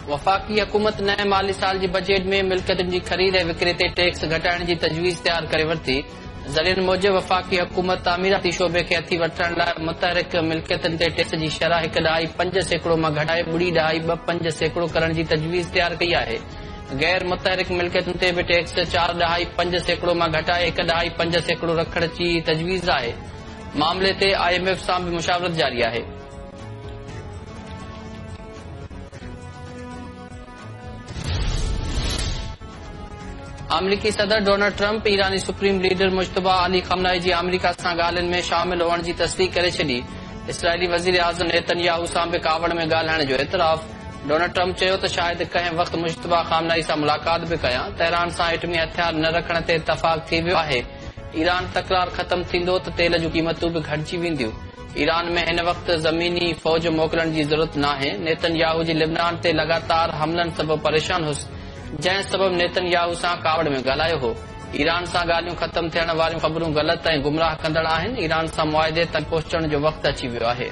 وفاقي حڪومت نئين مالي سال جي بجيٽ ۾ ملڪيتن جي خريد ۽ وڪري تي ٽيڪس گهٽائڻ جي تجويز تيار ڪري ورتي. ذريعن موجب وفاقي حڪومت تعميراتي شعبي کي هٿي وٺرائڻ لاء متحرڪ ملڪيتن تي ٽيڪس جي شرح 1.5% مان گهٽائي 0.25% ڪرڻ جي تجويز تيار ڪئي آهي. غير متحرڪ ملڪيتن تي به ٽيڪس 4.5% مان گهٽائي 1.5% رکڻ جي تجويز آهي. معاملي تي I M F سان به مشاورت جاري آهي. آمريڪي صدر ڊونلڊ ٽرمپ ايراني سپريم ليڊر مجتبيٰ علي خامنائي جي آمريڪا سان ڳالهين ۾ شامل هئڻ جي تصديق ڪري ڇڏي. اسرائيلي وزيراعظم نيتن ياهو سان به ڪاوڙ ۾ ڳالهائڻ جو اعتراف. ڊونلڊ ٽرمپ چيو ته شايد ڪنهن وقت مجتبيٰ خامنائي سان ملاقات به ڪيان، تهران سان ايٽمي هٿيار نه رکڻ تي اتفاق ٿي ويو آهي، ايران تڪرار ختم ٿيندو ته تيل جون قيمتون به گهٽجي وينديون. ايران ۾ هن وقت زميني فوج موڪلڻ جي ضرورت ناهي، نيتن ياهو جي لبنان تي لڳاتار حملن سبب پريشان هيس، جنهن سبب نيتن ياهو سان ڪاوڙ ۾ ڳالهايو هو. ايران سان ڳالهيون ختم ٿيڻ واريون خبرون غلط ۽ گمراهه ڪندڙ آهن، ايران سان معاهدي تائين پهچڻ جو وقت اچي ويو آهي.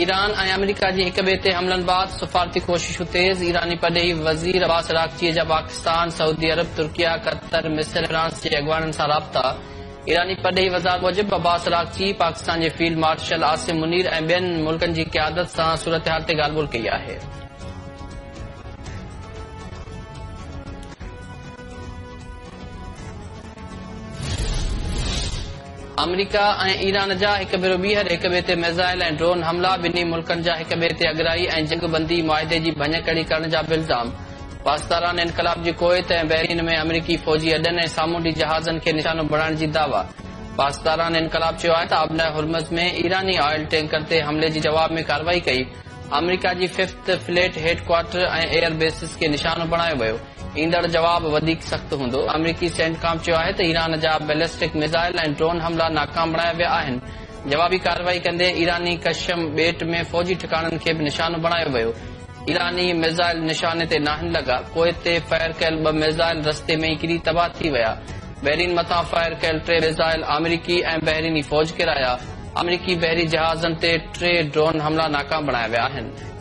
ايران ۽ آمريڪا جي هڪ ٻئي تي حملن بعد سفارتي ڪوششون تيز، ايراني پرڏيهي وزير عباس عراقچي جا پاڪستان، سعودي عرب، ترڪيه، قطر، مصر ۽ فرانس جي اڳواڻن سان رابطا، ايراني پرڏيهي وزارت موجب عباس عراقچي پاڪستان جي فيلڊ مارشل عاصم منير ۽ ٻين ملڪن جي قيادت سان صورتحال تي ڳالهه ٻولهه ڪئي آهي. آمريڪا ۽ ايران جا هڪ ڀيرو ٻيهر هڪ ٻئي تي ميزائل ۽ ڊرون حملا، ٻنهي ملڪن جا هڪ ٻئي تي اڳرائي ۽ جنگ بندي معاهدي جي ڀڃڪڙي ڪرڻ جا به الزام. پاسداران انقلاب جي ڪويت ۽ بحرين ۾ آمريڪي فوجي اڏن ۽ سامونڊي جهازن کي نشانو بڻائڻ جي دعويٰ. پاسداران انقلاب چيو آهي ته آبنائي هرمز ۾ ايراني آئل ٽينڪر تي حملي جي جواب ۾ ڪارروائي ڪئي، آمريڪا جي fifth fleet head quarter ۽ air bases کي نشانو بڻايو ويو. ايندڙ جواب وڌيڪ سخت هوندو. آمريڪي سينٽڪام چيو آهي ته ايران جا بيلسٽڪ ميزائل ۽ ڊرون حملا ناڪام بڻايا ويا آهن. جوابي ڪارروائي ڪندي ايراني قشم ٻيٽ ۾ فوجي ٺڪاڻن کي به نشانو بڻايو ويو. ايراني ميزائل نشاني تي ناهن لڳا. ڪويت تي فائر ڪيل ٻه ميزائل رستي ۾ ئي ڪري تباهه ٿي ويا. بحرين مٿان فائر ڪيل ٽي ميزائل آمريڪي ۽ بحريني فوج ڪيرايا. آمريڪي بحري جهازن تي ٽي ڊرون حملا ناڪام بڻايا ويا آهن.